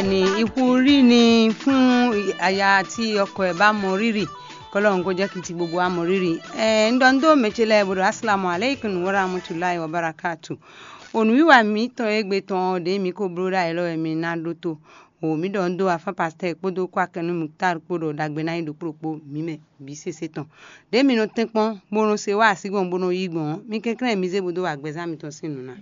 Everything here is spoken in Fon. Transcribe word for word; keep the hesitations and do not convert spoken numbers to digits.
Ni ihu rí ni fún aya tí ọkọ ẹ̀ bá mɔ rírì, kɔlɔ ń gojá kìtì gbogbo amɔ rírì. Ẹ ń ɖɔ ń dó mɛ ce lɛ bó ɖo asalamu aleykum wa rahmatulahi wa barakatu. Onú wíwá mǐtɔn égbé tɔn ɔ́ ɖě mǐ ko bló ɖó ayǐ lɔ wɛ mi ná ɖótó. O mǐ ɖɔ ń dó afán pastɛ́ kpódó kwákɛnú Muktar kpó ɖɔ ɖagbe ná nyí ɖokpó ɖokpó mǐ mɛ bǐ sésé tɔn. Ɖě mi nɔ tɛ́nkpɔ́n bó nɔ se wá así gbɔn bó nɔ yí gbɔn ɔ́, mi kɛnklɛ́n mi zé bó dó wa gbɛzán mitɔn sín nǔ ná.